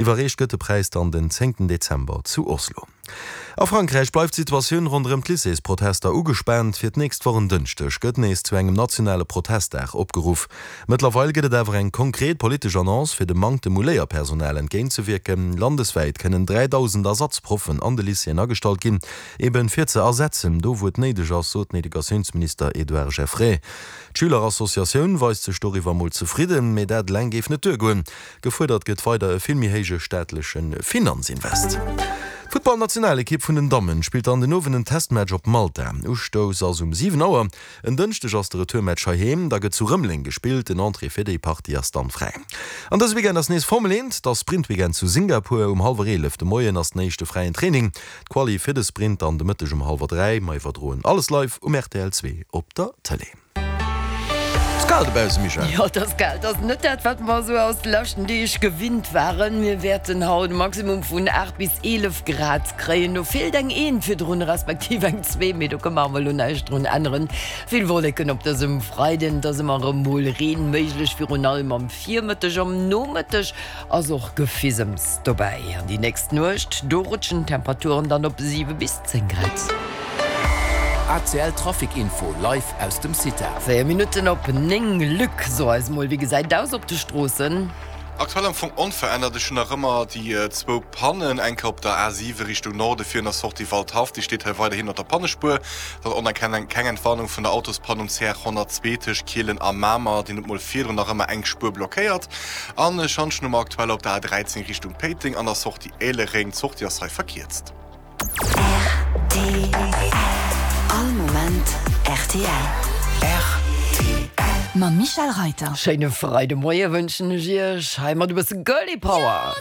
Iwwerreecht gëtt de Präis dann den zéngten Dezember zu Oslo. A Frankräich bleift d'Situatioun ronderëm d'Lycéesprotester ugespaant. Fir d'nächst Woch en Dënschdeg gëtt nees zu engem nationale Protestdag opgeruff. Mëttlerweil gëtt et awer eng konkret politesch Annonce, fir dem Manktem u Léierpersonal entgéintzewierken. Landeswäit kënnen 3.000 Ersatzproffen an de Lycéeën agestallt ginn, eben fir ze ersetzen, do wou et néideg ass, sot den Educatiounsminister Edouard Geffray. D'Schülerassociatioun weist sech doriwwer mol zefridden, mee dat eleng géif net duergoen. Gefuerdert gëtt weider e vill méi héije staatleche Finanzinvest. D'Futtballnationalekipp vun den Dammen spillt an den Owend en Testmatch op Malta. Ustouss ass um 7 Auer. En Dënschdeg ass de Retourmatch heiheem, da gëtt zu Rëmeleng gespillt. Den Entrée fir déi Partie ass dann fräi. An dëse Weekend ass nees Formel 1, et ass Sprintweekend zu Singapur. Um hallwer 11 de Moien ass den éischte fräien Training. D'Quali fir de Sprint dann de Mëtteg um hallwer 3. Mer iwwerdroen alles live um rtl 2 op der Tëlee. Ass kal dobaussen, Michèle? Jo, et ass kal. Et ass net dat, wat mer esou aus de leschten Deeg gewinnt waren. Mir wäerten haut e Maximum vun 8 bis 11 Grad kréien. Do feelt eng Eent virdrun, respektiv eng zwee, mee do kënne mer awer elo näischt drun änneren. Vill Wolleken op dësem Freiden, et ass ëmmer erëm mol Reen méiglech, virun allem am Virmëtteg. Am Nomëtteg ass och Gefisems dobäi. An déi nächst Nuecht, do rutschen d'Temperaturen dann op 7 bis 10 Grad. ACL Trafic Info live aus dem CITA. 4 Minutten op 9. Luc, so eis mol, wéi gesäit et aus op de Stroossen? Aktuell am Fong onverännert. Ech hunn nach ëmmer déi zwou Pannen, eng Kéier op der A7 Richtung Norde virun der Sortie Waldhaff, déi steet hei weiderhin op der Pannespuer. Dann och nach keng Entwarnung vun der Autospann um CR 102 tëscht Kielen a Mamer, deen huet mol virdrun nach ëmmer eng Spuer blockéiert. An e Schantjen hu mer aktuell op der A13 Richtung Péiteng an der Sortie Éilereng. D'Sortie ass hei verkierzt. Rtl. All Moment rtl. Rtl. Mam Michèle Reiter. Schéine Freidemoie wënschen ech iech hei mat e bësse Girly Power.